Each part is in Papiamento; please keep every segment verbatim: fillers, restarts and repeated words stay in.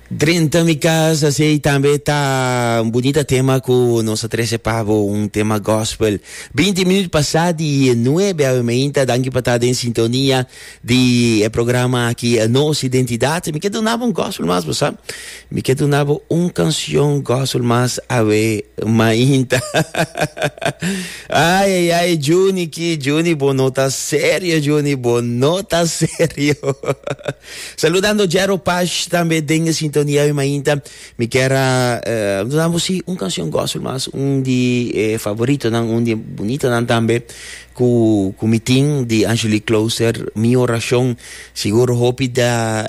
Drenta mi cas, asina tambe ta un bunita tema cu nos a trece pa bo, un tema gospel. binti minuut pasa di nuebe awe mainta, danki pa ta den sintonia di e programa aki, Nos Identidad. Mi kier duna un gospel mas, bo sabi? Mi kier duna un cancion gospel mas awe mainta. Ai, ai, ai, Juni, ki Juni, bo no ta serio, Juni, bo no ta serio. Saludando Jero Paz tambe den sintonia awe mainta. Mi kier uh, duna un cancion gospel mas, un di eh, favoritonan, un di bunitanan tambe, cu cu mi tin di Angelique Closer, "Mi Oracion". Sigur hopi da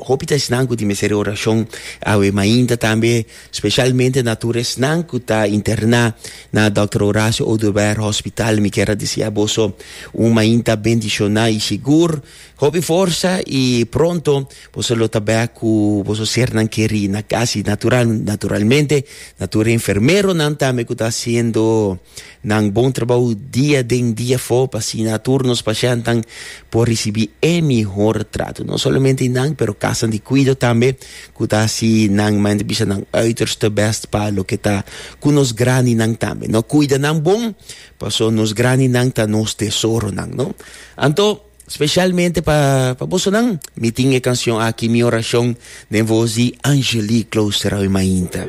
hopi ta esnan cu tin mester oracion awe mainta tambe, specialmente na tur esnan cu ta interna na Doctor Horacio Oduber Hospital. Mi kier desea boso un mainta bendiciona y sigur hopi forsa y pronto boso lo ta bek cu boso sernan keri na cas. Natural naturalmente na tur enfermeronan tambe cu ta haciendo nan bon trabou dia den dia afo pa asina tur nos pacientenan por ricibi e mihor trato, no solamente nan, pero cas di cuido tambe cu ta haci nan man bisa nan uiterste best pa loke ta cu nos grandinan tambe, no? Cuida nan bon, paso nos grandinan ta nos tesoronan, no? Anto specialmente pa pa bosonan mi tin e cancion aki, "Mi Oracion", den voz di Angelique Closer, mainta.